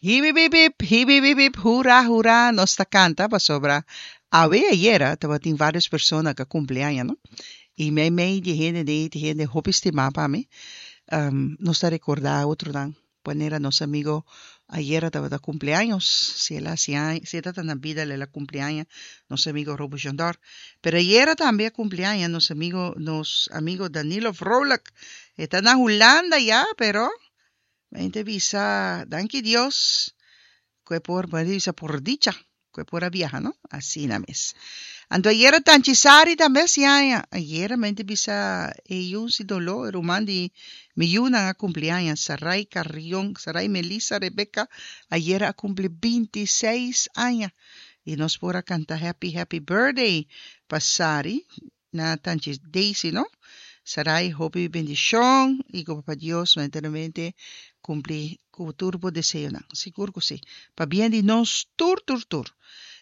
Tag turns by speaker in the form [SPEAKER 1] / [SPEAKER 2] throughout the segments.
[SPEAKER 1] Hibibibip, hibibibip, hura, hura, nos ta kanta pasobra awe ayera tabatin vários persona ku a kumpli aña, no? I meimei di e hende ei tin hende hopi stimá pa mi. Nos ta rekordá otronan manera nos amigo ayera tabata kumpli años, si el a hasi aña, si e tabata na bida el a kumpli aña, nos amigo Robo Jondor. Pero ayera tambe a kumpli aña nos amigo, nos amigo Danilo Vrolijk. E ta na Hulanda ya, pero Mi ta bisa danki Dios ku e por, mi ta bisa por dicha ku e por a biaha no, asina mes. Anto ayera Tanchi Sari tambe a hasi aña, ayera mi ta bisa e yu sin doló, e ruman di mi yunan a kumpli aña, Sarai Carrion, Sarai Melissa Rebecca, ayera a kumpli bintiseis aña i nos por a kanta happy happy birthday pa Sari Na Tanchi Daisy no. Sarai hopi bendishon y ku Papa Dios manteramente kumpli ku tur bo deseonan. Sigur ku si. Pabien di nos tur tur tur.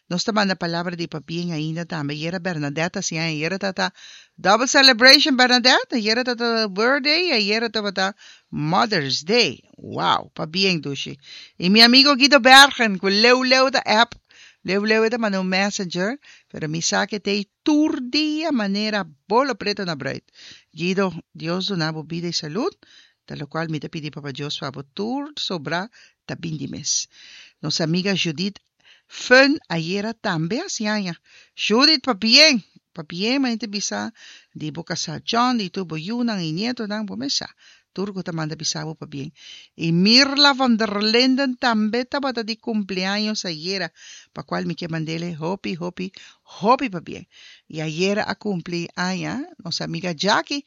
[SPEAKER 1] Nos ta manda palabra di pabien ainda tambe. Ayera Bernadette a siña ayera ta ta double celebration Bernadette. Ayera ta ta birthday y ayera tabata Mother's Day. Wow! Pabien dushi. Y mi amigo Guido Bergen ku leu leu ta app. Leu leu e ta manda un messenger pero mi sa ke t'ey Tur dia manera bolo preto na bruid. Guido, Dios duna bo bida y salud, ta locual mi ta pidi Papa Dios pa bo tur sobra ta bin di mes. Nos amiga Judith Fun ayera tambe haci aña. Judith pabien! Pabien manera ta bisa di bo casa John di tur bo yunan y nietonan bo mes sa. Tur ku ta manda bisa bo pabien. I Mirla van der Linden tambe tabata di kumpleaños ayera, pa kual mi ke mand'ele hopi, hopi, hopi pabien. I ayera a kumpli aña nos amiga Jackie.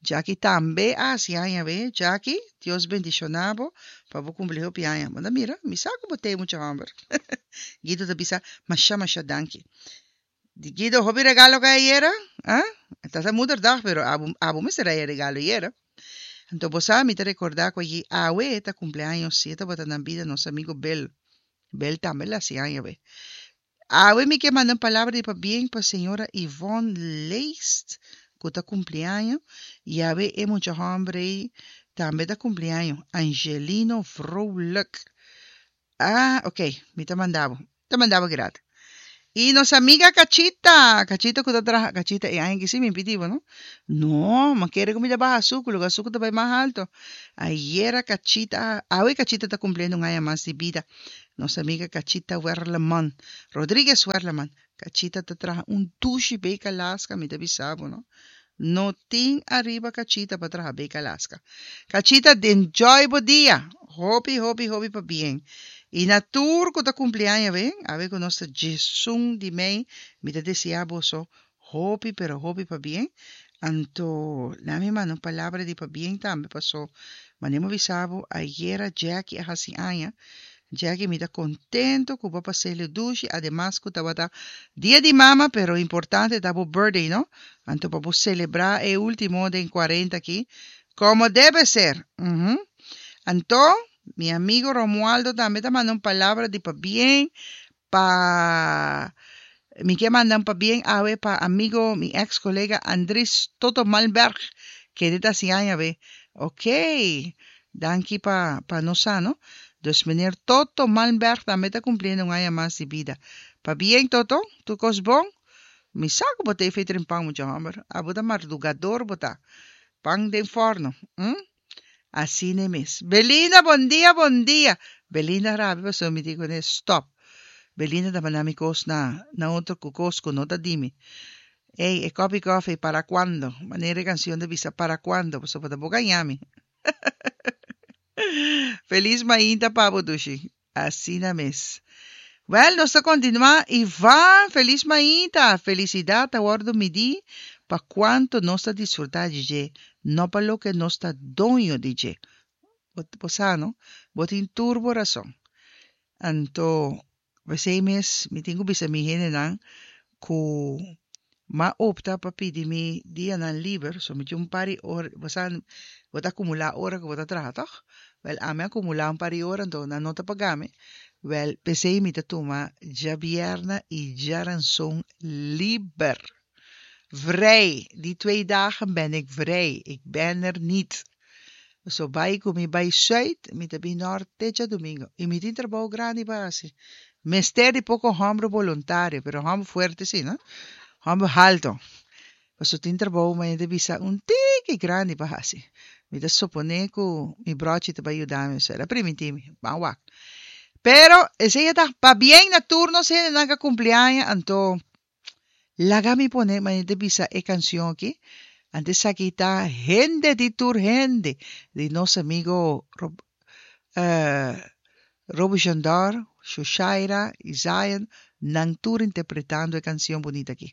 [SPEAKER 1] Jackie tambe a hasi aña be. Jackie, Dios bendishoná bo pa bo kumpli hopi aña. Bo ta mira, mi sa ku bo t'e mucha hòmber. Guido ta bisa, Masha, masha danki. Di Guido, hopi regalo ka ayera? Ah? Ta ta moederdag, pero abo, abo mester haya regalo ayera. Anto bo sa, mi ta recorda cu allí awe ta cumpleaños si e tabata na bida nos amigo Bill. Bill tambe la haci aña awe. Awe mi ke manda un palabra di pabien pa señora Yvonne Leest cu ta cumpleaño y awe e mucha homber ey tambe ta cumpleaño, Angelino Vrolijk. Ah, ok, mi ta manda bo. Ta manda bo gratis. Y nos amiga Cachita, Cachita cu ta traha, Cachita e aña ki si mi pidi bo, no? No, ma kere cu mi ta baha azucu, loke azucu ta bay mas alto. Ayera Cachita, awe Cachita ta cumpliendo un aña mas di bida. Nos amiga Cachita Werleman, Rodriguez Werleman. Cachita ta traha un dushi bey Alaska, mi ta bisa bo, no? No tin ariba Cachita pa traha bek Alaska. Cachita enjoy bo dia. Hopi hopi hopi pabien. Y na tur cu ta cumpli aña awe, awe cu nos ta djesun di mei, mi ta desea boso hopi pero hopi pabien. Anto laat mi manda un palabra di pabien tambe paso manera mi a bisa bo ayera Jackie a haci aña Jackie mi ta contento cu bo a pas'e lo dushi ademas cu tabata dia di mama pero importante ta bo birthday no anto pa bo celebra e ultimo den cuarenta aki como debe ser uhmm anto mi amigo Romualdo tambe ta manda un palabra di pabien pa mi ke manda un pabien awe pa amigo mi ex colega Andries Toto Malmberg kende ta hasi aña awe ok danki pa pa nos sa no dus meneer Toto Malmberg tambe ta cumpliendo un aña mas di bida pabien Toto tur cos bon mi sa cu bo ta efe trimpan mucha homber abo ta mardugador bo ta pan den forno hm. Asina e mes. Belinda, bon dia, bon dia. Belinda rabia pasobra mi di kuné stop. Belinda ta manda mi kos na na otro ku kos ku no ta di mi. Ey, e kopi kofi, para cuando? Manera e kanshon ta bisa, para cuando? Pasobra bo ta bo gaña mi. Felis mainta pa bo, Dushi. Asina mes. Wel, nos ta kontinuá. Ivan, felis mainta! Felisidat ta wòrdu midí pa kuantu nos ta disfrutá di dje, no pa loke nos ta doño di dje. Bo, bo sa, no? Bo tin tur bo rason. Anto, p'esei mes mi tin ku bisa mi hendenan ku m'a opta pa pidi mi dianan liber, so mi tin un par di ora, bo sa, bo ta akumulá ora ku bo ta traha, tòg? Wèl, ami a akumulá un par di ora, anto nan no ta paga mi. Wèl, p'esei mi ta tuma djabièrnè i djaranson liber. Vrij! Die twee dagen ben ik vrij, ik ben er niet. Paso bai ku mi bai sùit, mi ta bin nòrt te djadumingu. I mi tin trabou grandi pa hasi. Mester di poko hòmber boluntario, pero hòmber fuerte si, no? Hòmber haltu. Paso tin trabou manera ta bisa un tiki grandi pa hasi. Mi ta suponé ku mi bròchi ta bai yuda mi, el a primintí mi. Ban wak. Pero esei a ta pabien na tur nos hendenan ku a kumpli aña, anto Laga mi pone manera ta bisa e cancion aki. Anto esaki ta Hende di tur hende di nos amigo Rob Roby Jandor, Shoshaira y Zion, nan tur interpretando e cancion bunita aki.